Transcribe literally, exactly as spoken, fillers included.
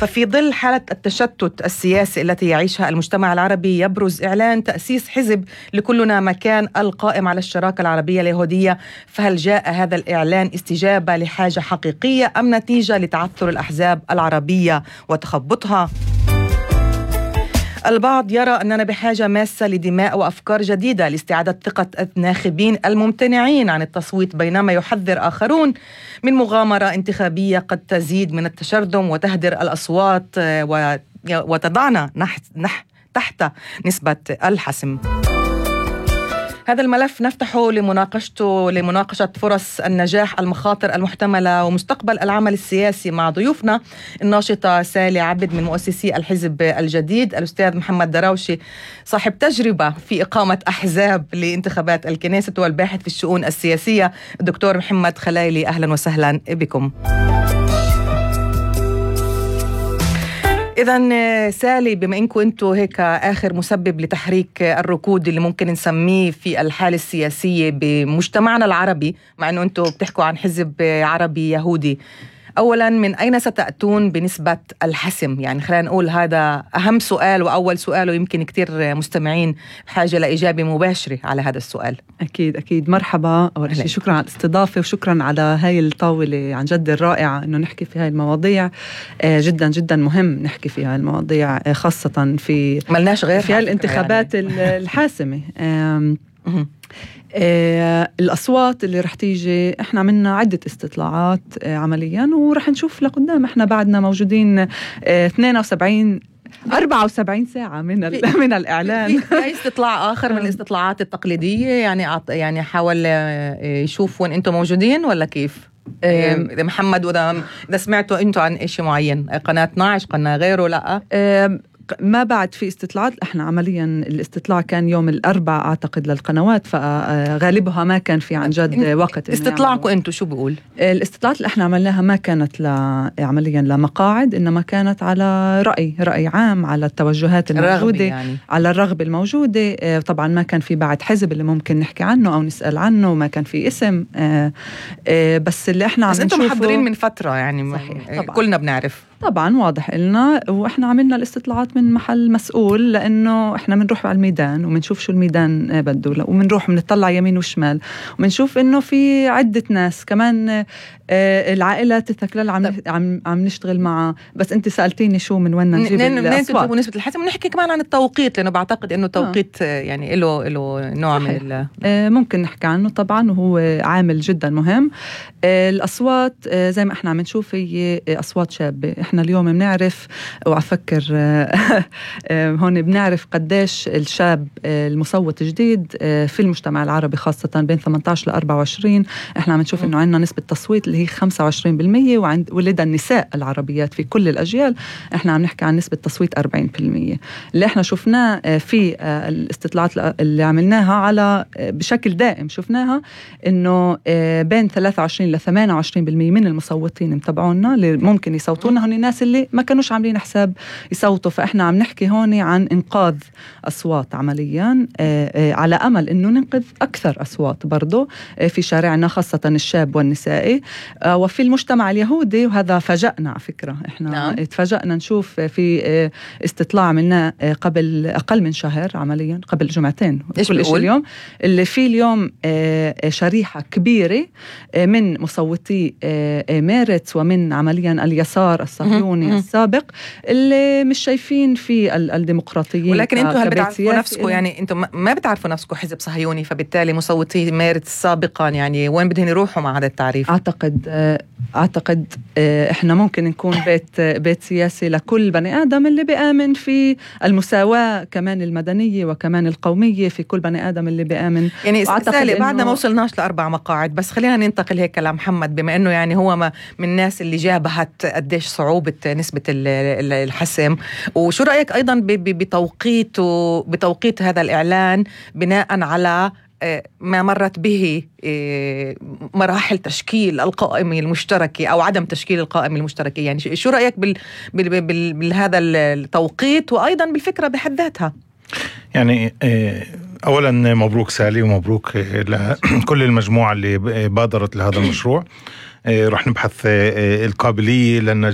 ففي ظل حالة التشتت السياسي التي يعيشها المجتمع العربي، يبرز إعلان تأسيس حزب لكلنا مكان القائم على الشراكة العربية اليهودية. فهل جاء هذا الإعلان استجابة لحاجة حقيقية أم نتيجة لتعثر الأحزاب العربية وتخبطها؟ البعض يرى أننا بحاجة ماسة لدماء وأفكار جديدة لاستعادة ثقة الناخبين الممتنعين عن التصويت، بينما يحذر آخرون من مغامرة انتخابية قد تزيد من التشرذم وتهدر الأصوات وتضعنا تحت نسبة الحسم. هذا الملف نفتحه لمناقشته لمناقشة فرص النجاح، المخاطر المحتملة، ومستقبل العمل السياسي مع ضيوفنا الناشطة سالي عبد من مؤسسي الحزب الجديد، الأستاذ محمد دراوشي صاحب تجربة في إقامة أحزاب لانتخابات الكنيسة، والباحث في الشؤون السياسية الدكتور محمد خلايلي. أهلا وسهلا بكم. إذن سالي، بما إنكم أنتوا هيك آخر مسبب لتحريك الركود اللي ممكن نسميه في الحالة السياسية بمجتمعنا العربي، مع أنه أنتوا بتحكوا عن حزب عربي يهودي، أولا من أين ستأتون بنسبة الحسم؟ يعني خلينا نقول هذا أهم سؤال وأول سؤال، ويمكن كتير مستمعين بحاجة لإجابة مباشرة على هذا السؤال. أكيد أكيد. مرحبا، أول شيء شكرا على الاستضافة وشكرا على هاي الطاولة عن جد الرائعة إنه نحكي في هاي المواضيع. جدا جدا مهم نحكي في هاي المواضيع، خاصة في ملناش غير في الانتخابات يعني. الحاسمة. آه الأصوات اللي رح تيجي، إحنا عملنا عدة استطلاعات آه عمليا، ورح نشوف لقدام. إحنا بعدنا موجودين آه اثنين وسبعين أربعة وسبعين ساعة من من الإعلان. في استطلاع آخر من الاستطلاعات التقليدية يعني يعني حاول يشوف وين أنتم موجودين ولا كيف؟ إذا محمد، وإذا إذا سمعتوا أنتوا عن إشي معين، قناة اثناشر، قناة غيره؟ لا آه ما بعد في استطلاعات. احنا عمليا الاستطلاع كان يوم الأربعاء اعتقد للقنوات، فغالبها ما كان في عن جد وقت. استطلاعكم انتم شو بيقول؟ الاستطلاعات اللي احنا عملناها ما كانت عمليا لمقاعد، انما كانت على رأي رأي عام، على التوجهات الموجودة، يعني. على الرغبة الموجودة. طبعا ما كان في بعد حزب اللي ممكن نحكي عنه او نسأل عنه، ما كان في اسم. بس اللي احنا عم نشوفه، بس انتم محضرين من فترة يعني. صحيح. طبعا. كلنا بنعرف طبعا، واضح إلنا، وإحنا عملنا الاستطلاعات من محل مسؤول، لأنه إحنا بنروح على الميدان وبنشوف شو الميدان بده، وبنروح بنطلع يمين وشمال وبنشوف إنه في عدة ناس كمان العائلات الثكلال عم عم عم نشتغل معها. بس أنت سألتيني شو من وين نجيب الأصوات ونسبة الحسم، ونحكي كمان عن التوقيت، لأنه بعتقد إنه توقيت آه. يعني له له نوع صحيح. من آه ممكن نحكي عنه طبعا، وهو عامل جدا مهم. آه الأصوات آه زي ما إحنا عم نشوف هي أصوات شابة. إحنا اليوم بنعرف، وأفكر هون بنعرف قديش الشاب المصوت جديد في المجتمع العربي، خاصة بين ثمانية عشر لأربعة وعشرين. إحنا عم نشوف إنه عندنا نسبة تصويت اللي هي خمسة وعشرين بالمية، وعند ولد النساء العربيات في كل الأجيال إحنا عم نحكي عن نسبة تصويت أربعين بالمية. اللي إحنا شفناه في الاستطلاعات اللي عملناها على بشكل دائم، شفناها إنه بين ثلاثة وعشرين لثمانية وعشرين بالمية من المصوتين متابعونا اللي ممكن يصوتونا هون الناس اللي ما كانوش عاملين حساب يصوتوا. فإحنا عم نحكي هون عن إنقاذ أصوات عمليا، على أمل إنه ننقذ أكثر أصوات برضو في شارعنا، خاصة الشاب والنسائي وفي المجتمع اليهودي. وهذا فاجأنا على فكرة. إحنا نعم. اتفاجأنا نشوف في استطلاع عملناه قبل أقل من شهر، عمليا قبل جمعتين، كل إيش اليوم اللي فيه اليوم شريحة كبيرة من مصوتي ميرتس ومن عمليا اليسار الصهيوني السابق اللي مش شايفين في الديمقراطيين. ولكن انتم هل بتعرفوا نفسكم؟ يعني انتم ما بتعرفوا نفسكم حزب صهيوني، فبالتالي مصوتي ميرتس سابقا يعني وين بدهم يروحوا مع هذا التعريف؟ اعتقد اعتقد احنا ممكن نكون بيت بيت سياسي لكل بني ادم اللي بيآمن في المساواة كمان المدنية وكمان القومية في كل بني ادم اللي بيآمن. يعني سالي بعدنا ما وصلناش لأربع مقاعد، بس خلينا ننتقل هيك لمحمد، بما انه يعني هو ما من الناس اللي جابهت قديش صعوبة نسبة الحسم. وشو رأيك أيضا بتوقيت بتوقيت هذا الإعلان بناء على ما مرت به مراحل تشكيل القائمة المشتركة أو عدم تشكيل القائمة المشتركة؟ يعني شو رأيك بال بهذا التوقيت وأيضا بالفكرة بحد ذاتها؟ يعني أولا مبروك سالي ومبروك لكل المجموعة اللي بادرت لهذا المشروع. رح نبحث القابلية لأن